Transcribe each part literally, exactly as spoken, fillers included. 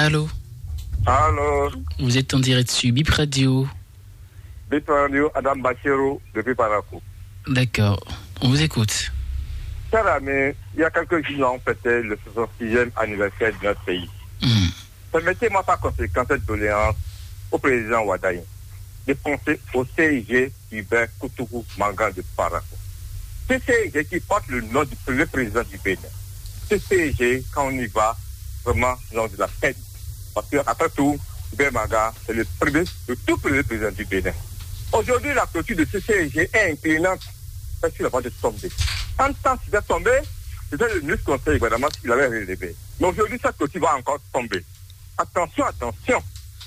Allô? Allô? Vous êtes en direct sur Bip Radio. Bip Radio, Adam Bachero, depuis Parakou. D'accord, on vous écoute. Cher ami, il y a quelques jours, on fêtait le soixante-sixième anniversaire de notre pays. Hmm. Permettez-moi par conséquent cette doléance au président Wadaï de penser au C I G Hubert Kutuku Manga de Parakou. Ce C I G qui porte le nom du premier président du Bénin. Ce C I G, quand on y va, vraiment, on a de la peine. Parce que, après tout, Hubert Manga, c'est le premier, le tout premier président du Bénin. Aujourd'hui, la clôture de ce C I G est inclinante. Parce qu'il va de tomber. En temps, s'il a tombé, c'était le ministre conseil gouvernement s'il avait relevé. Mais aujourd'hui, cette clôture va encore tomber. Attention, attention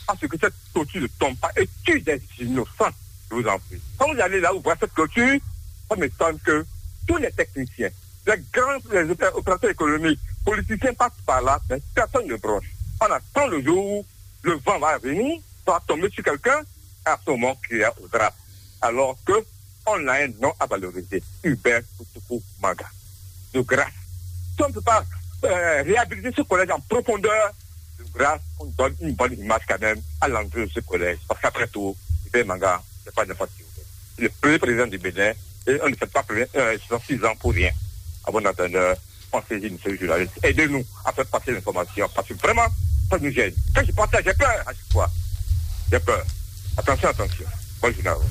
à ce que cette clôture ne tombe pas et tue des innocents, je vous en prie. Quand vous allez là où voir cette clôture, ça m'étonne que tous les techniciens, les grands les opé- opérateurs économiques, politiciens passent par là, mais personne ne bronche. On attend le jour où le vent va venir, ça va tomber sur quelqu'un, à ce moment, crier au drame. Alors que on a un nom à valoriser, Hubert Kutuku Manga. De grâce, si on ne peut pas euh, réhabiliter ce collège en profondeur, de grâce, on donne une bonne image quand même à l'entrée de ce collège. Parce qu'après tout, Hubert Manga, c'est pas n'importe qui. Le premier président du Bénin, et on ne fait pas premier, euh, six ans pour rien. Avant d'attendre, on saisit, monsieur le journaliste. Aidez-nous à faire passer l'information. Parce que vraiment, ça nous gêne. Quand je pense ça, j'ai peur à chaque fois. J'ai peur. Attention, attention. Bonne journée à vous.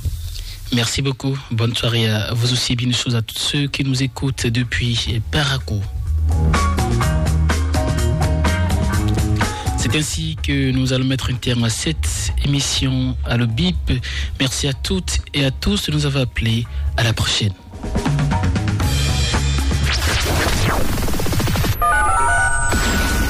Merci beaucoup. Bonne soirée à vous aussi. Bonne chose à tous ceux qui nous écoutent depuis Parakou. C'est ainsi que nous allons mettre un terme à cette émission à le bip. Merci à toutes et à tous de nous avoir appelés. À la prochaine.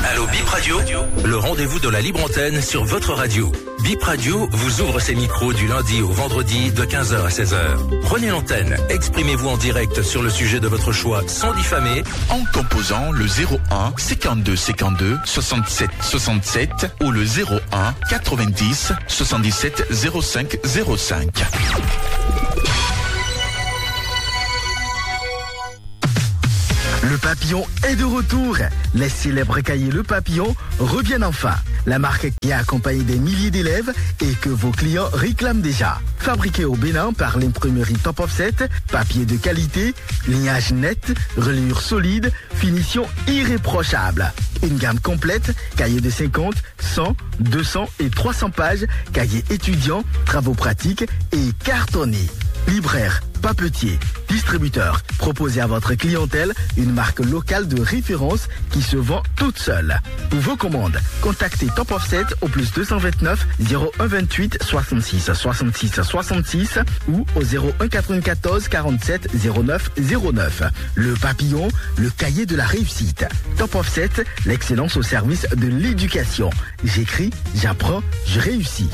Allô Bip Radio, le rendez-vous de la libre antenne sur votre radio. Bip Radio vous ouvre ses micros du lundi au vendredi de quinze heures à seize heures. Prenez l'antenne, exprimez-vous en direct sur le sujet de votre choix sans diffamer en composant le zéro un cinquante-deux cinquante-deux soixante-sept soixante-sept ou le zéro un quatre-vingt-dix soixante-dix-sept zéro cinq zéro cinq. Le Papillon est de retour. Les célèbres cahiers Le Papillon reviennent enfin. La marque qui a accompagné des milliers d'élèves et que vos clients réclament déjà. Fabriqué au Bénin par l'imprimerie Top Offset, papier de qualité, lignage net, reliure solide, finition irréprochable. Une gamme complète, cahier de cinquante, cent, deux cents et trois cents pages, cahier étudiant, travaux pratiques et cartonné. Libraire, papetier, distributeur, proposez à votre clientèle une marque locale de référence qui se vend toute seule. Pour vos commandes, contactez Top Offset au plus deux cent vingt-neuf zéro un vingt-huit soixante-six soixante-six soixante-six ou au zéro un quatre-vingt-quatorze quarante-sept zéro neuf zéro neuf. Le Papillon, le cahier de la réussite. Top Offset, l'excellence au service de l'éducation. J'écris, j'apprends, je réussis.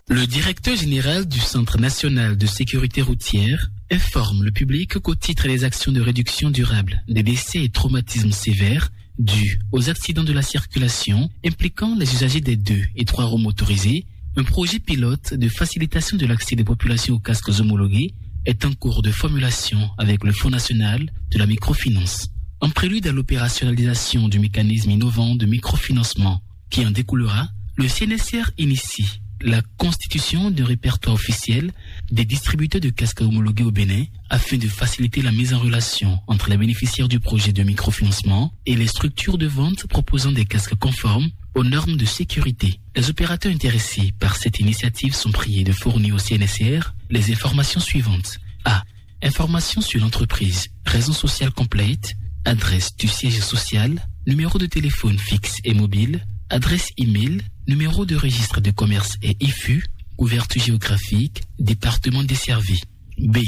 Le directeur général du Centre national de sécurité routière informe le public qu'au titre des actions de réduction durable des décès et traumatismes sévères dus aux accidents de la circulation impliquant les usagers des deux et trois roues motorisées, un projet pilote de facilitation de l'accès des populations aux casques homologués est en cours de formulation avec le Fonds national de la microfinance. En prélude à l'opérationnalisation du mécanisme innovant de microfinancement qui en découlera, le C N S R initie la constitution d'un répertoire officiel des distributeurs de casques homologués au Bénin afin de faciliter la mise en relation entre les bénéficiaires du projet de microfinancement et les structures de vente proposant des casques conformes aux normes de sécurité. Les opérateurs intéressés par cette initiative sont priés de fournir au C N S R les informations suivantes. A. Informations sur l'entreprise, raison sociale complète, adresse du siège social, numéro de téléphone fixe et mobile, adresse email, numéro de registre de commerce et I F U, couverture géographique, département desservi. B.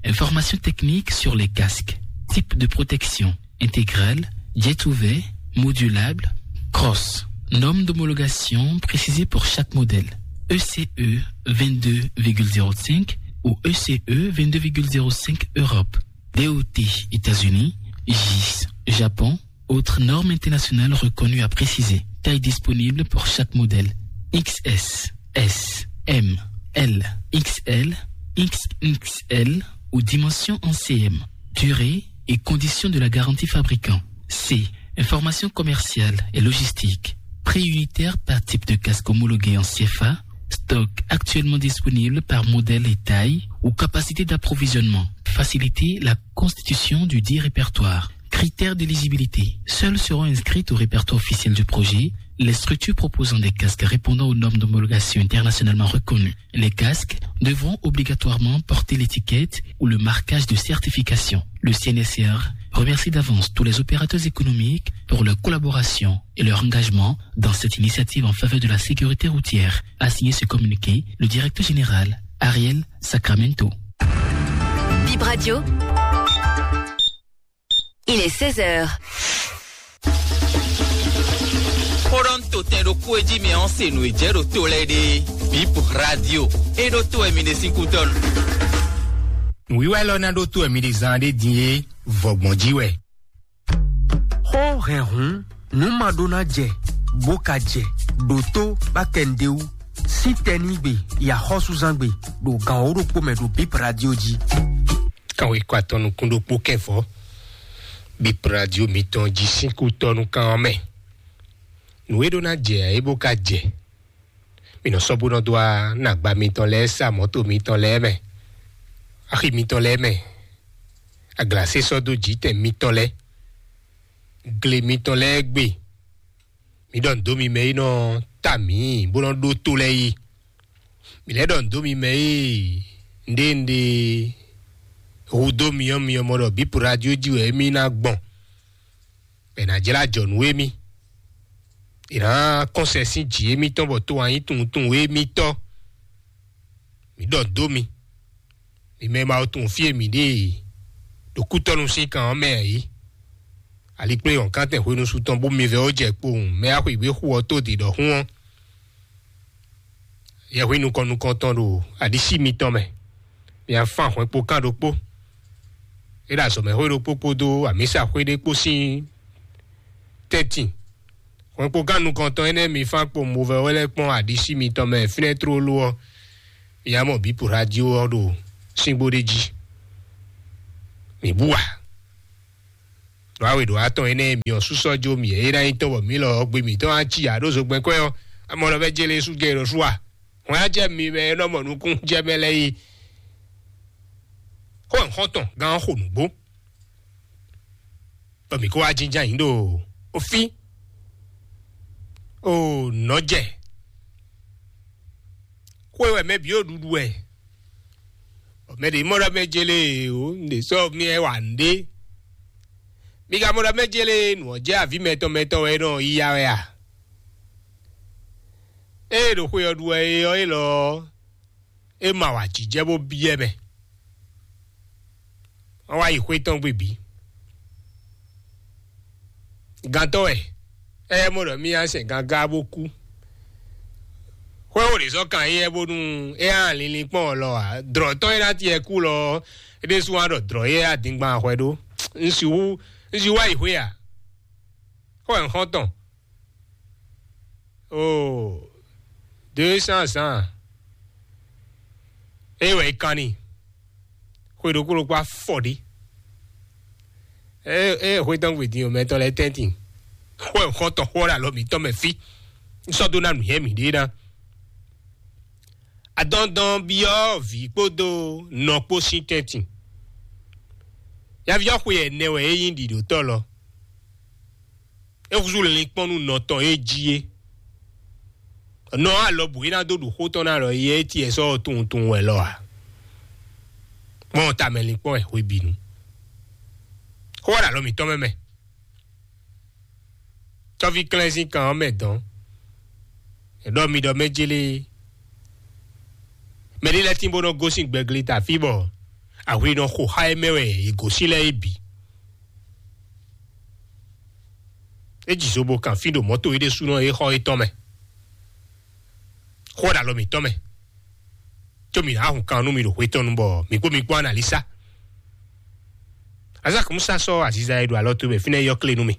Informations techniques sur les casques, type de protection, intégrale, jet ouvert, modulable, cross. Norme d'homologation précisée pour chaque modèle. E C E vingt-deux virgule zéro cinq ou E C E vingt-deux virgule zéro cinq Europe. D O T États-Unis, gis Japon, autres normes internationales reconnues à préciser. Taille disponible pour chaque modèle. X S, S, M, L, X L, X X L ou dimension en C M. Durée, et conditions de la garantie fabricant. C. Information commerciale et logistique. Prix unitaire par type de casque homologué en C F A. Stock actuellement disponible par modèle et taille ou capacité d'approvisionnement. Faciliter la constitution du dit répertoire. Critères d'éligibilité. Seules seront inscrites au répertoire officiel du projet les structures proposant des casques répondant aux normes d'homologation internationalement reconnues. Les casques devront obligatoirement porter l'étiquette ou le marquage de certification. Le C N S R remercie d'avance tous les opérateurs économiques pour leur collaboration et leur engagement dans cette initiative en faveur de la sécurité routière, a signé ce communiqué le directeur général Ariel Sacramento. Bip Radio. Il est seize heures. Xó ɖɔ un to tɛn ɖokpó e jí mi ɔ́ se nǔ e jɛ ɖo to lɛ́ɛ ɖe. Bip Radio. E ɖo to wɛ mi ɖe sín kútɔ́ nu. Nǔwiwa élɔ́ ná ɖótó wɛ mi ɖe zán ɖé din é vɔgbɔn jí wɛ. Xó hɛn hǔn nǔ ma ɖó ná jɛ bó ka jɛ ɖo tó bá kɛ nǔɖé wú. Sín tɛnígbe yi axɔ́súzángbe ɖo gan wǒ ɖokpó mɛ ɖo Bip Radio jí. Kan wěkwatɔ́ nukún ɖokpó kɛ́ vɔ̌. Bip Radio mitɔn jí sín kútɔ́ nú kan ɔ́ mɛ. Nǔ e ɖó ná jɛ ǎ é bó ka jɛ. Mi nɔ sɔ́ bó nɔ dó wá nú agba mitɔn lɛ́ɛ sa mɔ̌to mitɔn lɛ́ɛ mɛ, axi mitɔn lɛ́ɛ mɛ, aglasé sɔ́ dó jǐtɛn mitɔn lɛ́ɛ, gle mitɔn lɛ́ɛ gbe. Mi ɖɔ nǔ dó mi mɛ e nɔ ta mǐ bó nɔ ɖó tó lɛ́ɛ yí. Mi lɛ́ ɖɔ nǔ dó mi mɛ e nɖénɖé hudó myɔ́myɔ́ mɔ ɖɔ Bip Radio jí wɛ émí ná gbɔn, bɔ è nǎ jlá jɔ nǔ émí. È nǎ kɔn sɛ sín jǐ émítɔn bɔ to wǎn nyí tunwun tunwun émítɔn. Mǐ ɖɔ dó mi, mi mɛ e ma wo tunwun fí e mǐ ɖe e ɖo kútɔ́nu sín kan ɔ́ mɛ ǎ é. Ali kplé wɔ̌nkántɛn hwenu su tɔn bó mi vɛ́ ó jɛ kpowun mɛ axwǐgbé xu ɔ́ tó dǐ ɖɔhun ɔ́. Yɛhwin nukɔn nukɔntɔn ɖo aɖisí mitɔn mɛ. Mi afán hwɛ̌nkpo kan ɖokpó. É ɖo azɔ̌mɛxwé ɖokpó kpódó amǐsaxwé ɖé kpó sín tɛ́ntin. Hwɛ̌nkpo kan nukɔntɔn énɛ́ mi fán kpo movɛ́wɛ́ lɛ́ɛ kpɔ́n aɖisí mitɔn mɛ fínɛ́ tlóló ɔ́, mi ná mɔ bǐ po radio ɔ́ ɖo síngbó ɖé jí. Mi bú a? Ɖo awe ɖo atɔn énɛ́ mi ɔ́ sú sɔ́ jó mì é ná nyí tɔn bɔ mǐ lɔ ɔ́ gbe mǐtɔn á cí ǎ ɖó zogbɛ́n kwɛ́ ɔ́, amɔ lɔ vɛ́ jélé sú jɛ ɖo sú a? Hwɛn á jɛ mi mɛ e nɔ mɔ nukún jɛ mɛ lɛ́ɛ yi. Xó ɔ́ xɔ́ntɔn gán ɔ́ xo nǔgbó, bɔ mǐ kó wá jínjɔ́n ayǐ ɖo ofí o nɔ́ jɛ. Xó e wɛ mɛ bǐ ɖo ɖuɖu wɛ. Mɛ ɖě mɔ ɖɔ mɛ jélé o, un ɖě sɔ́ mì wɛ wa nǔɖé. Mi ka mɔ ɖɔ mɛ jélé nǔ ɔ́ jɛ avǐ mɛtɔn mɛtɔn wɛ é nɔ yi ya wɛ a? Ée ɖo xwe ɔ́ ɖu wɛ é ɔ́, élɔ́ ɔ́, é ma wa jǐjɛ bó byɔ́ mɛ. Wọ́n wá yi xwé tɔn gbe bǐ. Gantɔ́ wɛ, é mɔ ɖɔ mì nyi sɛn gangá bó kú. Xwé xo ɖě sɔ́ kan éyɛ́ bónú é ná linlin kpɔ́n ɔ́ lɔ ǎ. Dlɔ̌ tɔn e ná tiɛ kú lɔ ɔ́, é ɖésú wá ɖɔ dlɔ̌ éyɛ́ adingban hwɛ ɖó. Un sixú, un sixú wá yi xwé a? Xó wɛ un xɔ́n tɔn. Oo, deux cents ans. É wɛ é kan n'i. Xwe ɖokpó ɖokpó afɔ ɖé. É é xwe tɔn gbe din o mɛtɔn lɛ́ɛ tɛ́ntin. Xó ɛ xɔ́ntɔn xó ɔ́ ɖo alɔ mǐtɔn mɛ fí. Un sɔ́ dó ná nǔnywɛ́ mǐɖée ná. Adɔndɔn byɔ́ vǐ kpódó nɔ kpó sín tɛ́ntin. Yaví ɔ́ xwe ɛnɛ wɛ é nyí ɖiɖǒtɔ́ lɔ. É húzú linkpɔ́n nú nɔ tɔn e jí é. Nɔ alɔ bǔ é ná dó ɖu xó tɔn ná ɖɔ yɛ é tiɛ sɔ́ tunwun tunwun wɛ lɔ ǎ. Kpɔ́n tamɛ linkpɔ́n wɛ hwebǐnu. Xó wá ɖo alɔ mǐtɔn mɛ mɛ. Tɔ́ví klɛ́n sín kan ɔ́ mɛ dɔn. È ɖɔ mi ɖɔ mɛ jélé. Mɛ ɖé lɛ́ɛ tín bó nɔ gosín gbɛgli ta fí bɔ ahwi nɔ xo xá é mɛ wɛ è gosín lɛ́ɛ é bǐ. É ji zobo kan fí ɖo mɔ̌to é ɖésúnɔ é xɔ étɔn mɛ. Xó ɖo alɔ mǐtɔn mɛ. Có mǐ ná hun kan nú mi ɖo xwé tɔn nu bɔ mǐ kpó mi kpó analisa. Azak Musa sɔ́ aziza e ɖo alɔ towe mɛ fínɛ́ yɔ́ klé nú mì.